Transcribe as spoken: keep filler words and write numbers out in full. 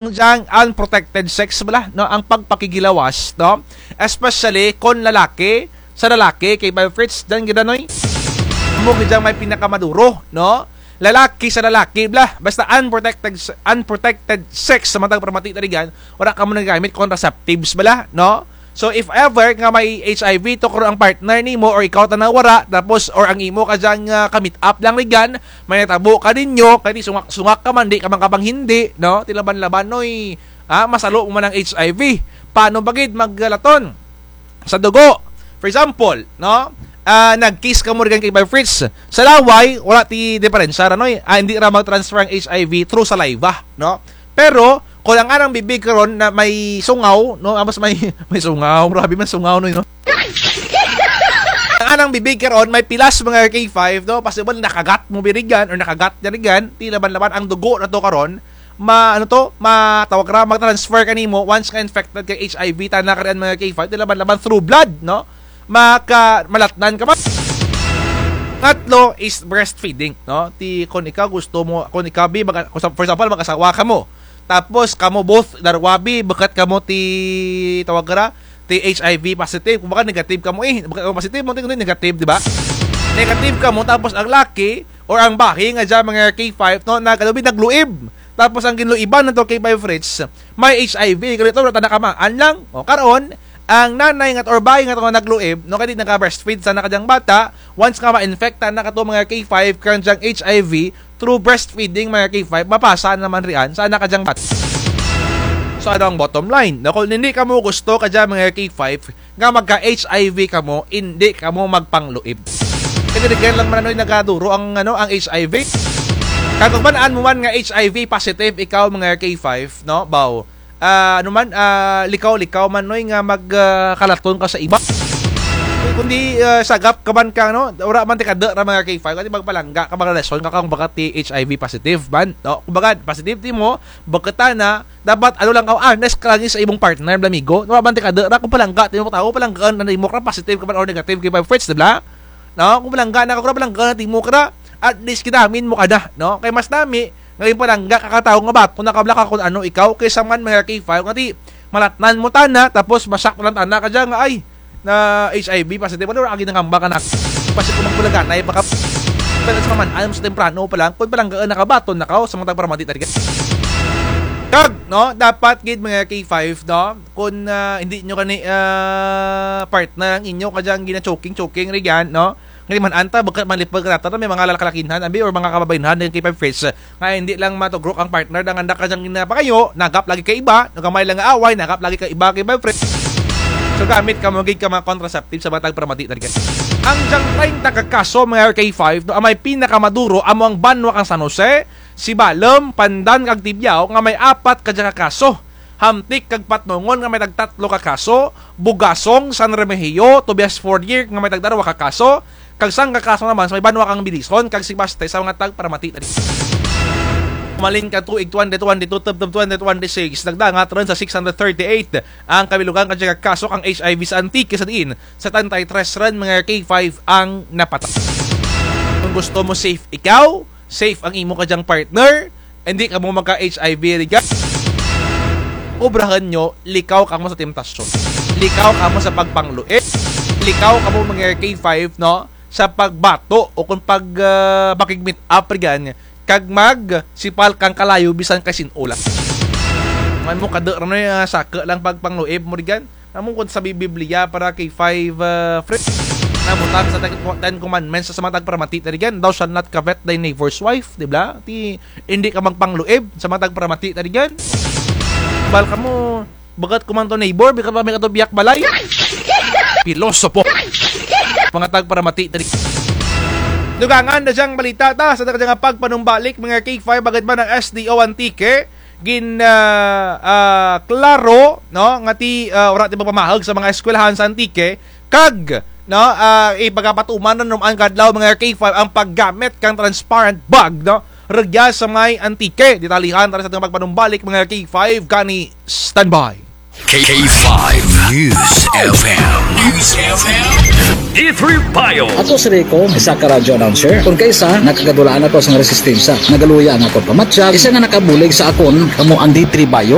dyang unprotected sex bala, no? Ang pagpakigilawas, no? Especially kon lalaki sa lalaki, K five Fritz, dyan gid, Noy. Amo gid dyang may pinakamaduro, no? Lalaki sa lalaki bala, basta unprotected, unprotected sex sa mga tagparamati ta rugyan, wara kamo nagagamit contraceptives bala, no? So, if ever nga may H I V to karon ang partner nimo or ikaw tana wara, tapos, or ang imo kadyang, ah, ka-meet up lang rugyan, may natabo kaninyo, kay ti sungak-sungak ka man, di ka man kapanghindi, no? Ti laban-laban, Noy, ah, masalo mo man ang H I V. Paano ba gid maglaton sa dugo? For example, no? Ah, nag-kiss kamo rugyan, K five Fritz. Sa laway, wara ti diperensya ra, Noy. Ah, hindi ra mag-transfer ang H I V through saliva, no? Pero, kon ang anang bibig karon na may sungaw, no? Amos may, may sungaw, grabe man sungaw, Noy, no? Ang anang bibig karon, may pilas, mga K five, no? Possible nakagat mo bi rugyan or nakagat dyan rugyan, ti laban-laban ang dugo nato karon, ma-, ano to, ma-, tawag ra, mag-transfer kanimo once nga infected kay H I V, tana ka rugyan, mga K five, ti laban-laban through blood, no? Maka-, malatnan ka man. Katlo is breastfeeding, no? Ti, kon ikaw gusto mo, kon ikaw bi, mag-, for example, mag-asawa kamo. Tapos, kamo both, darwa bi, bukut kamo ti, tawag ra, ti H I V positive. Kumbaga, negative kamo, eh. Bukut kamo positive, mo, ti negative, di ba? Negative kamo, tapos ang laki, or ang bahi nga dyan, mga K five, no, nag-, ano bi, nagluib. Tapos ang ginluiban nato, K five Fritz, may H I V. Kay ti, wara tana kamaan lang. O, karon, ang nanay nga or bahi nga to nga nagluib, no, kay ti naga-breastfeed tana kadyang bata, once nga ma-infect tana kato, mga K five, kadyang H I V, through breastfeeding, mga K five, mapasa na man rugyan sa tana kadyang bata. So, ano ang bottom line? No, kon hindi kamo gusto kadya, mga K five, nga magka-H I V kamo, hindi kamo magpangluib. Kay rugyan lang man, Noy, nagaduro ang, ano, ang H I V. Kag kon man-an mo man nga H I V positive ikaw, mga K five, no? Baw, ah, ano man, ah, likaw-likaw man, Noy, nga mag, ah, kalaton ka sa iba. Kundi, ah, sagap ka man ka, no? Wara man ti kada ra, mga K five, kay ti magpalangga ka, magrelasyon ka kang baga ti H I V positive man, no? Kumbaga, positive timo, bukut tana, dapat, ano lang ka, honest ka lang sa imong partner, bala, amigo. Wara man ti kada ra, kon palangga timo ka tawo, palanggaan na timo kara, positive ka man or negative, K five Fritz, di bala? No? Kon palangga na ka kara, palanggaan na timo kara, at least kinamin mo kada, no? Kay mas nami nga ginpalangga ka ka tawo nga baton na ka bala ka kon ano ikaw, kaysa man, mga K five, nga ti malatnan mo tana, tapos ma-shock lang tana kadya nga, ay, na H I V positive, wala, wara ka ginangamba ka na. Basi kon magpalangga na, ay, baka, pero sa man-an mo sa temprano pa lang, kon palanggaan na ka, baton na ka, o, sa mga tagparamati ta rugyan. Kag, no, dapat gid, mga K five, no, kon, ah, hindi nyo kani, ah, partner ang inyo kadyang gina-choking-choking rugyan, no? Nga ti man-an ta, bukut man lipud ka nata, may mga lalaki-lakinhan, abi, or mga kababayenhan, nga K five Fritz, nga hindi lang matugrok ang partner, nga anda kadyang ginapangayo, nagap lagi ka iba, no, gamay lang nga away, nagap lagi ka iba, K five Fritz. So, gamit kamo gid ka mga contraceptive sa mga tagparamati ta rugyan. Ang dyang treinta ka kaso, mga K five, no, ang may pinakamaduro, amo ang banwa kang San Jose, Sibalom, Pandan, kag Tibiao, nga may apat kadya ka kaso. Hamtic kag Patnongon nga may tagtatlo ka kaso, Bugasong, San Remigio, Tobias Fornier nga may tagdarwa ka kaso, kag sangka ka kaso naman sa may banwa kang Belison kag Sebaste sa mga tagparamati ta rugyan. Malin ka tuig twenty twenty-two tubtob twenty twenty-six, nagdangat run sa six hundred thirty-eight ang kabilugan kadya ka kaso kang H I V sa Antique, sa diin setenta y tres run, mga K five, ang napatay. Kon gusto mo safe ikaw, safe ang imo kadyang partner, hindi kamo magka-H I V rugyan. Obrahun nyo, likaw kamo sa temptasyon. Likaw kamo sa pagpangluib. Likaw kamo, mga K five, no? Sa pagbato o kon pag, ah, makig-meet up rugyan, kag magsipal kang kalayo bisan kay sin-o lang. May mo kada ra, Noy, ah, saka lang pagpangluib mo rugyan. Amo kon sa Bi-, Biblia para K five, ah, Fritz. Nabutang sa Ten, Ten Commandments sa mga tagparamati ta rugyan, "Thou shalt not covet thy neighbor's wife," di bala? Ti, hindi ka magpangluib sa mga tagparamati ta rugyan. Bal kamo, bukut ko man to neighbor, bukut pa mi kato biya ka balay. Pilosopo. Mga tagparamati ta rugyan. Dugangan na dyang balita ta sa dyang pagpanumbalik, mga K five, bangud man ang S D O Antique gin, ah, ah, klaro, no, nga ti, ah, wara ti magpamahug sa mga eskwelahan sa Antique, kag, no, ah, ipagapatuman na numan kadlaw, mga K five, ang paggamit kang transparent bag, no, rugya sa may Antique. Detalyehan ta sa atun pagpanumbalik, mga K five, kani standby. K five News F M. News F M. D three Bio. Ako si Rico, isa ka radyo announcer. Kon kaisa, nakagadulaan ako sa resistensya. Nagaluya ang akon pamatyag. Isa nga nakabulig sa akon, kamo ang D three Bio.